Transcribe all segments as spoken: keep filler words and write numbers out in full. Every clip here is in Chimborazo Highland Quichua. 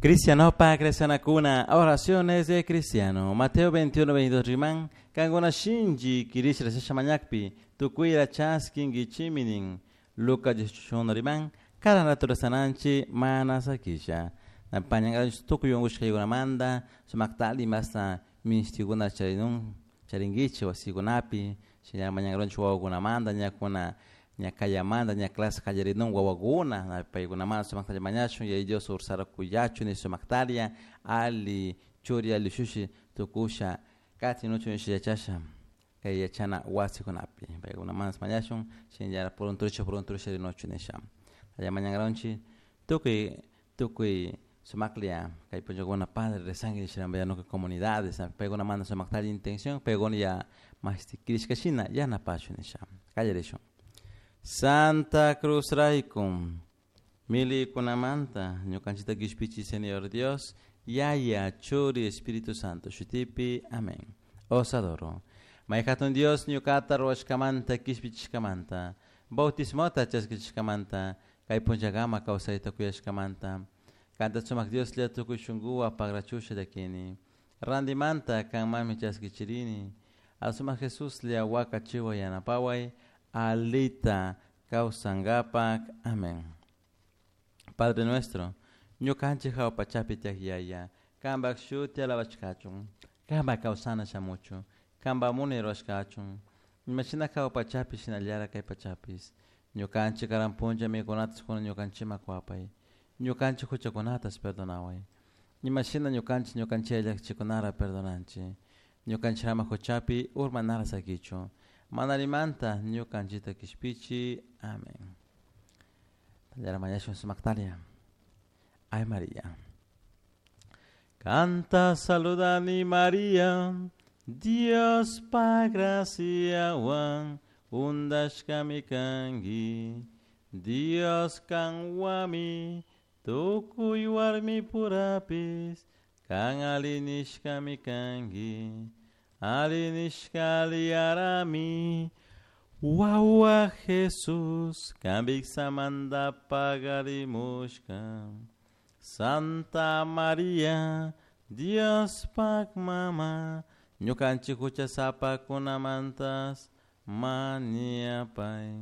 Cristianopa Cristianakuna, oraciones de cristiano. Mateo veintiuno, veintidós riman, kankuna shinchi kirisha rezasha mañakpi, tukuyra chaskinkichimi nin. Lucas dieciocho riman, cada naturaleza mana sakisha. Napañangaranchik tukuy unqushkaykunamanta, sumaktali masta minishtikuna charinun, charinkichik wasikunapi, shina mañangaranchik wawakunamanta, ñakuna ña kayamanta, ña clase qallarinun wawakuna, paykunamanta sumaktalla mañashun, Yaya Dios ursara kuyachun ni sumaktaria, ali churi ali shushi tukusha, katinuchun yachasha, kay yachana wasikunapi, paykunamanta mañashun, shinallara purunturisha purunturisha rinuchu nisha. Allá mañangaranchik tukuy tukuy sumaklia kay punllakuna padre rezanki nisha comunidades, paykunamanta sumaktalla intención, paykuna ya mashti kirishkashina yanapashun nisha. Qallarishun. Santa Cruz raykum, milikunamanta, ñukanchikta kishpichi Señor Dios, Yaya, Churi, Espíritu Santo, shutipi, amén. Os adoro. May hatun Dios ñukata ruwashkamanta kishpichishkamanta, bautismota chaskichishkamanta, kay punllakama kawsayta kuyashkamanta, kanta sumak Dios lla tukuy shunkuwan pagrachusha llakini, randimanta kanmanmi chaskichirini, asumak Jesus lla wakachiwa yanapaway, alita kawsankapak. Amén. Padre nuestro, ñukanchik hawa pachapi tiyak Yaya, kanpak shuti alabashkachun, kanpak kawsana shamuchun, kanpak munay rurashkachun, imashina hawa pachapi shinallara kay pachapis, ñukanchik karan punlla mikunatas kunan ñukanchikman kuwapay, ñukanchik huchakunatas perdonaway, imashina ñukanchik ñukanchik llakichikunara perdonanchik, ñukanchik ama huchapi urmanara sakichun, manarimanta ñukanchikta kishpichi. Amén. Tallara mañashun sumaktalia. Ay María. Canta saludani María, Dios pa graciawan undashkami kanki, Dios kanwami tukuy warmi purapis, kan alinishkami kanki, alinishka aliyarami, wawa Jesus, kambiksamanta pagarimushka. Santa María, Dios pak mama, ñukanchik huchasapakunamantas mañapay.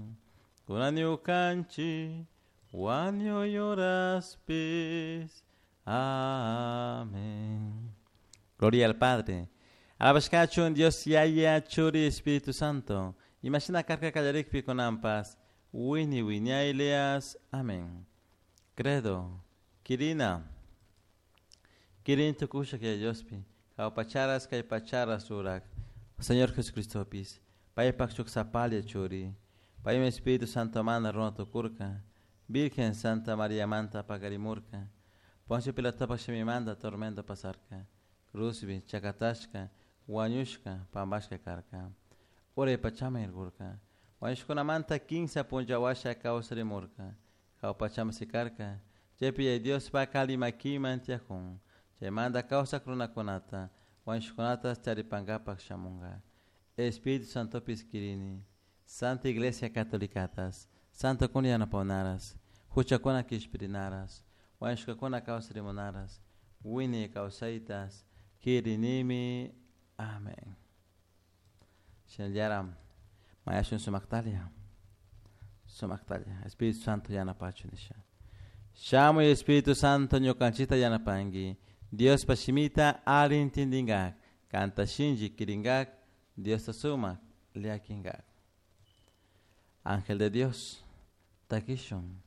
Kunan ñukanchik wañuy horaspis. Amén. Gloria al Padre. Alabashkachun Dios Yaya, Churi, Espíritu Santo. Imashina karka kallarikpi kunanpas, wini wiñaylias. Amén. Credo. Kirina. Kirin tukusha kay Diospi. Hawa pacharas kay pacharas urak. Señor Jesucristopis. Paypak shuk sapalia churi. Paymi Espíritu Santo mana runa tukurka. Virgen Santa María manta pakarimurka. Poncio Pilatopak shimimanta tormento pasarka. Cruzbi chakatashka, wañushka, pampashka karka. Uray pachaman irkurka. Wañushkunamanta kinsa punlla washa kawsarimurka. Hawa pachaman sikarka. Chaypi Yaya Diospak alli makiman tiyakun. Chaymanta kawsak runakunata, wañushkunata charipankapak shamunka. Espíritu Santopis kirini. Santa Iglesia Catolicatas, Santo kuna yanapawnaras, huchakuna kishpirinaras, wañushkakuna kawsarimunaras, wiñay kawsaytas, kirinimi. Amén. Shinallara mañashun sumaktalia. Sumaktalia. Espíritu Santo yanapachu nisha. Shamuy Espíritu Santo ñukanchikta yanapanki. Dios pashimita ali intindingak. Kanta shinchi kiringak. Dios ta sumak llakinkak. Ángel de Dios, takishun.